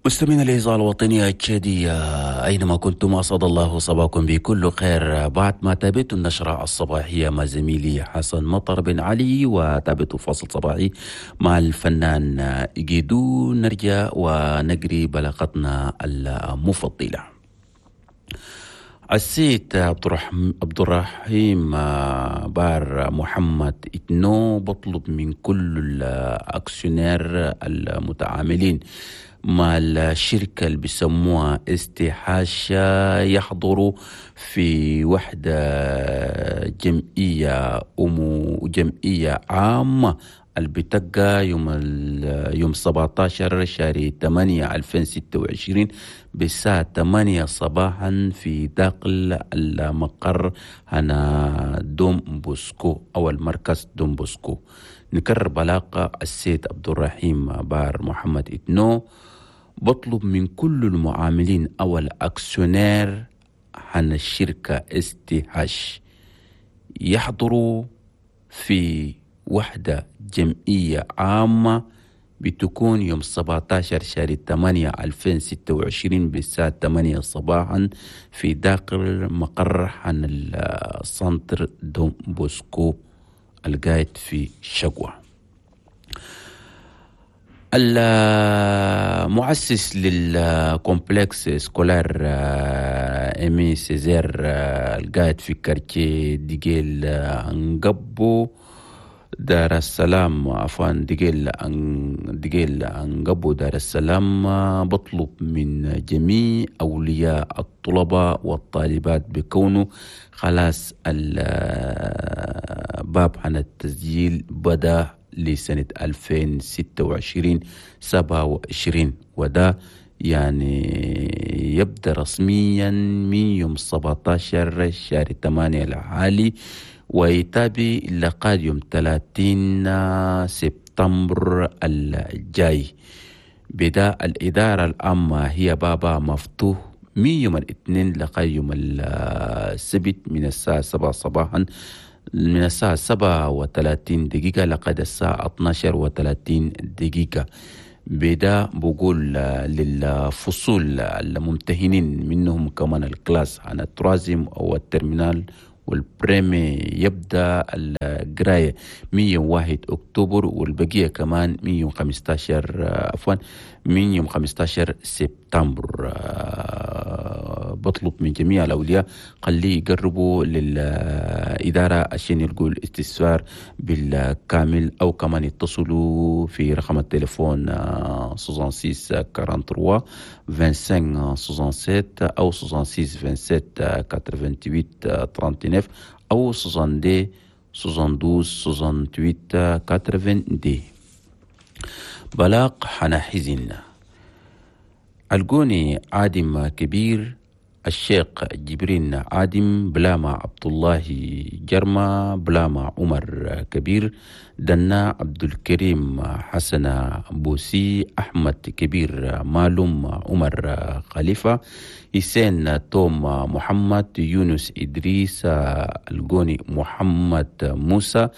مستمعينا الإذاعة الوطنية التشادية أينما كنتم، أسعد الله صباحكم بكل خير. بعد ما تابعت النشرة الصباحية مع زميلي حسن مطر بن علي وتابعت فاصل صباحي مع الفنان إيجيدو، نرجع ونجري بلاغتنا المفضلة. السيد عبد الرحيم بار محمد اتنو بطلب من كل ال actionnaires المتعاملين مع الشركة اللي بيسموها STH يحضروا في وحدة جمعية جمعية عامة اللي بتبقى يوم 17 شهر 8 2026 بالساعة 8 صباحا في داخل المقر هنا دوم بوسكو أو المركز دوم بوسكو. نكرر بلاغ السيد عبد الرحيم بار محمد اتنو بطلب من كل المعاملين أو ال actionnaires عن الشركة STH يحضروا في وحدة جمعية عامة بتكون يوم 17 شهر 8 2026 بالساعة 8 صباحا في داخل مقر عن ال centre دون بوسكو القاعد في شقوة. المؤسس لل complexe scolaire Aimé Césaire القاعد في quartier ديجيل انقبو دار السلام، عفوا، ديجيل انقبو دار السلام، بطلب من جميع أولياء الطلبة والطالبات بكونه خلاص الباب عن التسجيل بدأ لسنة 2026 27، وده يعني يبدأ رسميا من يوم 17 شهر 8 الحالي ويتابع لغاية يوم 30 سبتمبر الجاي. بدا الإدارة العامة هي بابا مفتوح من يوم الاثنين لغاية يوم السبت من الساعة 7 صباحا، من الساعة 7:30 لغاية الساعة 12:30. بدا بقول للفصول الممتهنين منهم كمان ال classes عن ال troisième أو ال terminale وال première يبدأ القراية 101 أكتوبر، والبقية كمان 115، عفوا، من يوم 15 سبتمبر. بطلب من جميع الأولياء خليه يقربوا للإدارة عشان يلقوا الاستفسار بالكامل، أو كمان يتصلوا في رقم التليفون 66 43 25 67 أو 66 27 88 39 أو 62 72 68 82. بلاغ حنا حزن: الجوني عادم كبير، الشيخ جبرين عادم، بلاما عبد الله جرما، بلاما عمر كبير، دنا عبد الكريم حسن بوسي، أحمد كبير، مالوم عمر خليفة، حسين توم محمد، يونس إدريس الجوني، محمد موسى،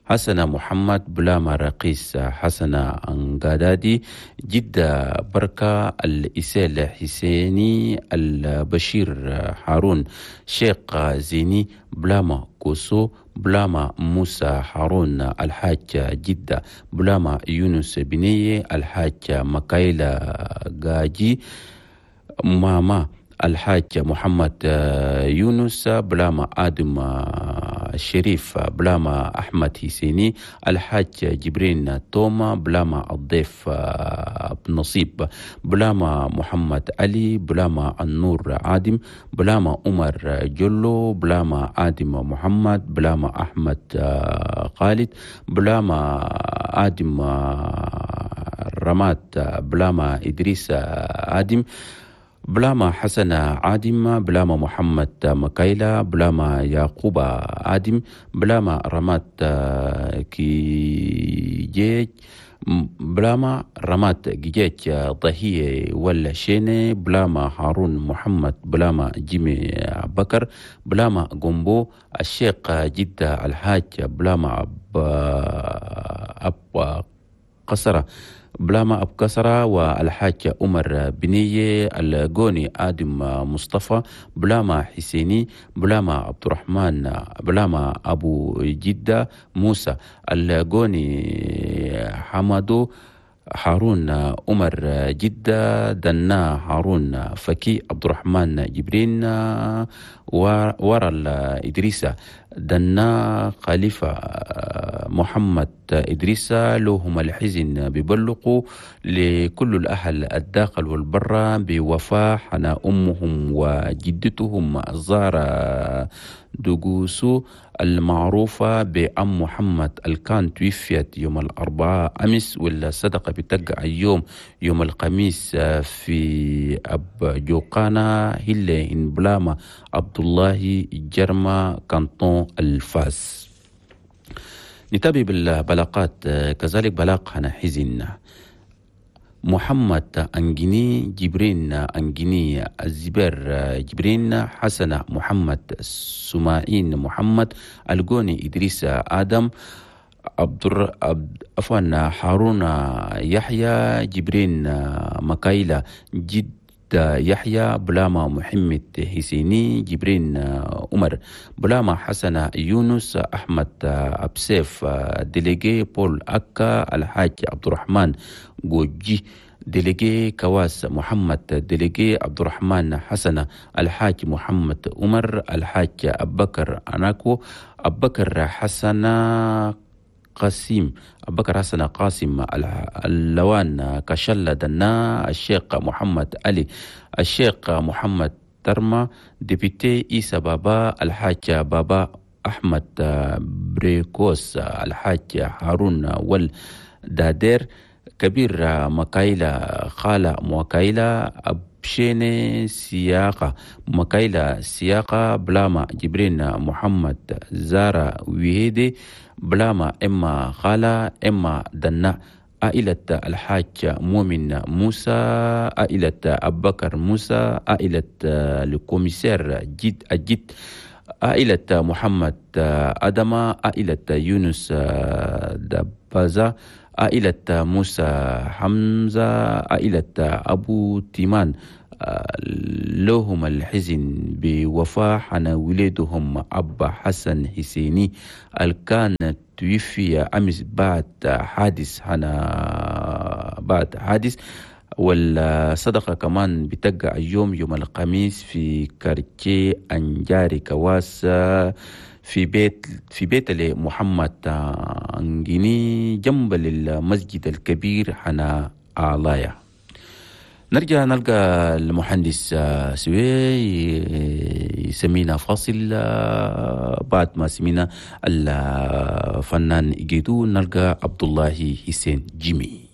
حسن محمد، بلاما رقيس حسن أنقادادي، جدة بركة، الإسال حسيني، البشير هارون، شيخ زيني، بلاما كوسو، بلاما موسى هارون الحاج جدة، بلاما يونس بنية، الحاج مكايلا غاجي، ماما الحاج محمد يونس، بلاما آدم الشريف، بلاما أحمد حسيني، الحاج جبرين توما، بلاما الضيف نصيب، بلاما محمد علي، بلاما النور عادم، بلاما عمر جلو، بلاما آدم محمد، بلاما أحمد خالد، بلاما آدم رمات، بلاما إدريس آدم، بلاما حسن عادم، بلاما محمد مكايلا، بلاما يعقوب آدم، بلاما رمات كيجيج، بلاما رمات جيج ضهية ولا شيني، بلاما هارون محمد، بلاما جيمي بكر، بلاما جومبو، الشيخ جدة الحاج، بلاما أب قصرة. بلاما أبو كسرة والحاج عمر بنية الجوني آدم مصطفى بلاما حسيني بلاما عبد الرحمن بلاما أبو جدة موسى الجوني حمدو هارون عمر جدة دنا هارون فكي عبد الرحمن جبرين ورا إدريسة دنا خليفة محمد إدريسة لهم الحزن ببلقوا لكل الأهل الداخل والبرة بوفاة حنا أمهم وجدتهم الزهرة دوغوسو المعروفة بأم محمد الكان توفيت يوم الأربعاء أمس، والصدقة بتقع اليوم يوم الخميس في أب جوقانا هيلة إن بلاما عبد الله جرما كانتون الفاس. نتابع بالبلاقات كذلك بلاق هنا حزن محمد أنجيني جبرين أنجيني الزبير جبرين حسن محمد سماعين محمد الجوني إدريس آدم عفوا هارون يحيى جبرين مكايلة جد يحيى بلاما محمد حسيني جبرين عمر بلاما حسن يونس أحمد أبسيف délégué بول أكا الحاج عبد الرحمن جوجي délégué كواس محمد délégué عبد الرحمن حسن الحاج محمد عمر الحاج أبكر أناكو أبكر حسن قاسم أبكر حسن قاسم اللوان كشلة دنا الشيخ محمد علي الشيخ محمد ترمى député إيسا بابا الحاج بابا أحمد بريكوس الحاج هارون والدادير كبير مكايلة خالة مكايلة أبشيني سياقة مكايلة سياقة بلاما جبرين محمد زارة ويهيدي بلاما إما خالة إما دنا عائلة الحاج مؤمن موسى عائلة أبكر موسى عائلة ال commissaire جد الجد عائلة محمد أدمة عائلة يونس دبازة عائلة موسى حمزة عائلة أبو تيمان لهم الحزن بوفاة حنا ولدهم أبا حسن حسيني الكان توفي أمس بعد حادث حنا بعد حادث. والصدقة كمان بتقع اليوم يوم الخميس في quartier أنجاري كواس في بيت لمحمد أنجيني جنب المسجد الكبير حنا علايا. نرجع نلقى المهندس سوي يسمينا فاصل بعد ما سمينا الفنان جيدو نلقى عبد الله حسين جيمي.